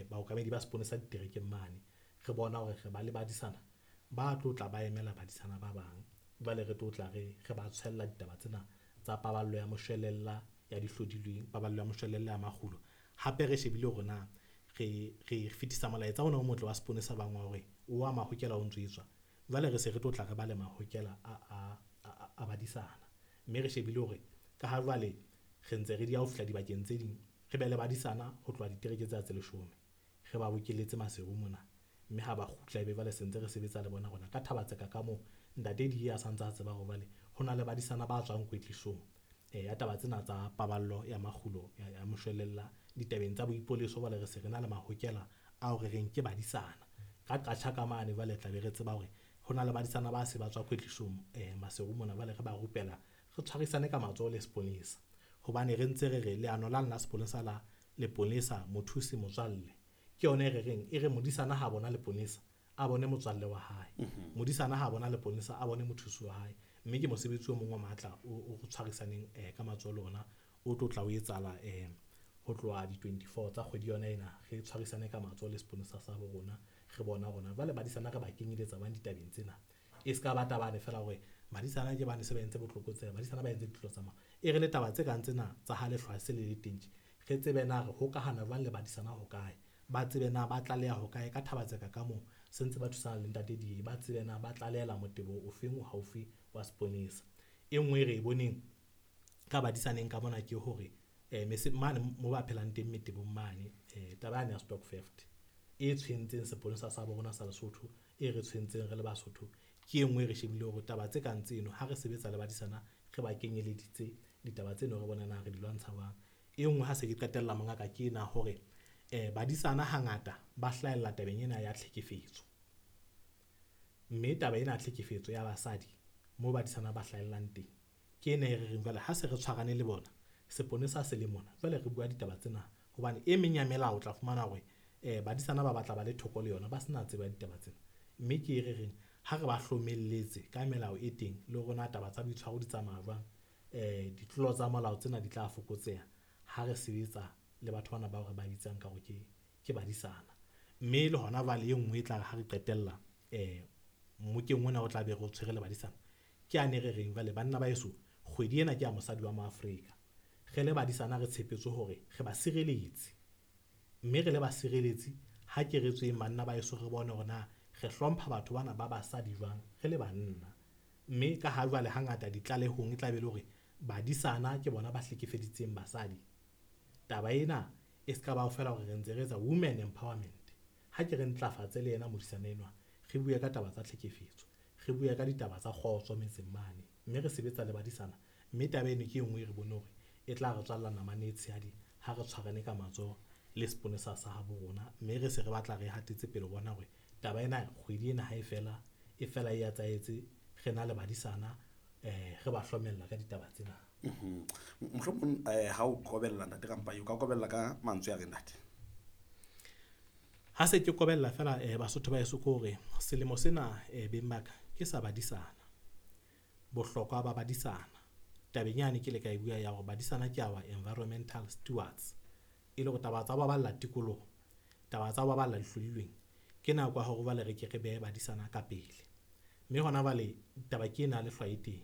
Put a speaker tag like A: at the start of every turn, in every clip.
A: Baokamedi ba seponesa diterekeng mane. Re bona hore re ba le badisana ba tlo tla ba emela badisana ba bang. Jwale re tlo tla re ba tshwella ditaba tsena tsa paballo ya moshwelella ya dihlodilweng, paballo ya moshwelella ya makgulo. Hape re shebile hore na re fetisa molaetsa ona o motle wa seponesa bang wa hore o wa mahokela o ntso etswa. Jwale re se re tlo tla re ba le mahokela a badisana, mme re shebile hore ka ha jwale re ntse re dieha ho fihla dibakeng tse ding, re be le badisana ho tloha ditereke tsena tse leshome. Re ba bokelletse Maseru mona, mme ha ba kgutla ebe jwale se ntse re sebetsa le bona rona ka Thaba-Tseka ka moo ntate Diya a santsa a tseba hore jwale ho na le badisana ba tswang kwetlisong ya taba tsena tsa paballo ya makgulo ya moshwelella ditabeng tsa boipoleso. Jwale re se re na le mahokela ao re reng ke badisana ka Qacha ka mane. Jwale tla be re tseba hore ho na le badisana ba se ba tswa kwetlisong Maseru mona, jwale re ba rupela, re tshwarisane ka matsoho le seponesa, hobane re ntse re re leano lane la seponesa la leponesa mothusi motswalle ke yona e re reng e re modisana ha bona leponesa a bone motswalle wa hae, modisana ha bona leponesa a bone mothusi wa hae. Mme ke mosebetsi o mong wa matla o tshwarisaneng ka matsoho le ona o tlo tla o etsahala ho tloha di-24 tsa kgwedi yona ena. Re tshwarisane ka matsoho le seponesa sa bo rona, re bona rona jwale badisana re ba kenyeletsa bang ditabeng tsena. E ska ba tabane feela hore badisana ke bane se ba entse botlokotsebe, badisana ba entse ditlolo tsa molao. E re le taba tse kang tsena tsa ha lehlwa se le le teng tje, re tsebe na re hokahana jwang le badisana ho kae, ba tsebe na ba tlaleha ho kae ka Thaba-Tseka ka moo se ntse ba thusana le ntate Diye, ba tsebe na ba tlalehela motebo o feng o haufi wa seponesa. E nngwe e re e boneng ka badisaneng ka mona ke hore mane mo ba phelang teng metebong mane, taba yane ya stock theft e tshwentseng seponesa sa bo rona sa Lesotho, e re tshwentseng re le Basotho, ke e nngwe e re shebile hore taba tse kang tseno ha re sebetsa le badisana re ba kenyeleditse ditaba tseno, re bona na re di lwantsha jwang. E nngwe ha se ke qetella mongaka ke ena hore badisana hangata ba hlahella tabeng ena ya tlhekefetso, mme taba ena ya tlhekefetso ya basadi moo badisana ba hlahellang teng ke ena e re reng jwale ha se re tshwarane le bona seponesa se le mona, jwale re bua ditaba tsena hobane e meng ya melao o tla fumana hore badisana ba batla ba le thoko le yona, ba sena tsebo ya ditaba tsena. Mme ke e re reng ha re ba hlomelletse ka melao e teng le hore na taba tsa boitshwaro di tsamaya jwang, ditlolo tsa molao tsena di tla fokotseha ha re sebetsa le batho bana bao re ba bitsang ka hore ke badisana. Mme le hona jwale e nngwe e tla re ha re qetella mmokeng ona o tla be re o tshwere le badisana ke yane re reng jwale banna ba heso, kgwedi ena ke ya mosadi wa Moafrika. Re le badisana re tshepetse hore re ba sireletse, mme re le basireletsi ha ke re tsweng banna ba heso re bone hore na re hlompha batho bana ba basadi jwang re le banna. Mme ka ha jwale hangata ditlalehong e tla be le hore badisana ke bona ba hlekefeditseng basadi, taba ena e ska ba feela hore re ntse re etsa women empowerment. Ha ke re ntlafatse le yena modisana enwa, re bue ka taba tsa tlhekefetso, re bue ka ditaba tsa kgotso metseng mane, mme re sebetsa le badisana. Mme taba eno ke e nngwe e re bone hore e tla re tswalla namane e tshehadi ha re tshwarane ka matsoho le seponesa sa habo rona, mme re se re batla re hatetse pele ho bona hore taba ena kgwedi ena ha e fela e fela e etsahetse re na le badisana, re ba hlomella ka ditaba tsena.
B: Mohlomong ha o kobella ntate Rampai, o ka kobella ka mantswe a reng ntate?
A: Ha se ke kobella feela Basotho ba heso ke hore selemo sena beng ba ka ke sa badisana, bohlokwa ba badisana tabeng yane ke le ka e bua ya hore badisana ke our environmental stewards, e le hore taba tsa ho baballa tikoloho, taba tsa ho baballa dihlodilweng ke nako ya hore jwale re ke re behe badisana ka pele. Mme hona jwale taba ke ena ya lehlwa e teng,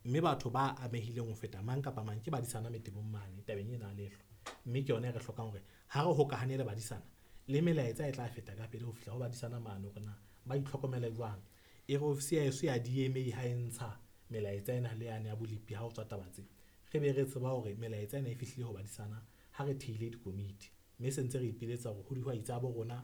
A: mme batho ba amehileng ho feta mang kapa mang ke badisana metebong mane tabeng ena ya lehlwa. Mme ke yona e re hlokang hore ha re hokahane le badisana le melaetsa e tla feta ka pele ho fihla ho badisana mane hore na ba itlhokomele jwang. E re ofisi ya heso ya DMA ha e ntsha melaetsa ena le yane ya bolepi ha ho tswa taba tse, re be re tseba hore melaetsa ena e fihlile ho badisana ha re thehile dikomiti. Mme se ntse re ipiletsa hore ho dihwai tsa bo rona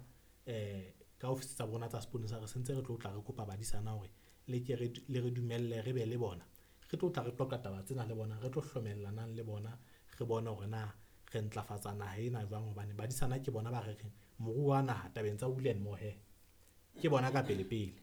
A: ka ofisi tsa bona tsa seponesa re sentse re tlo tla re kopa badisana hore le ke le re dumelle re be le bona, re tlo tla re qoqa taba tsena le bona, re tlo hlomellanang le bona, re bone hore na re ntlafatsa naha ena jwang hobane badisana ke bona ba re reng moruo wa naha tabeng tsa wool and mohair ke bona ka pele pele.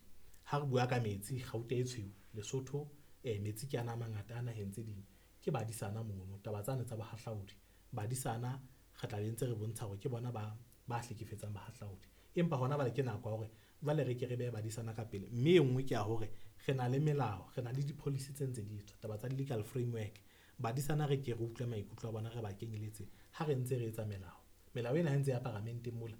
A: Ha re bua ka metsi kgauta e tshweu Lesotho, metsi ke ana a mangata a naheng tse ding ke badisana mono. Taba tsane tsa bohahlaudi badisana re tla be ntse re bontsha hore ke bona ba hlekefetsang bahahlaudi, empa hona jwale ke nako ya hore jwale re ke re behe badisana ka pele. Mme e nngwe ke ya hore re na le melao, re na le di-policy tse ntse di etswa taba tsa legal framework. Badisana re ke re utlwe maikutlo a bona, re ba kenyeletse ha re ntse re etsa melao. Melao ena ha ntse ya paramenteng mola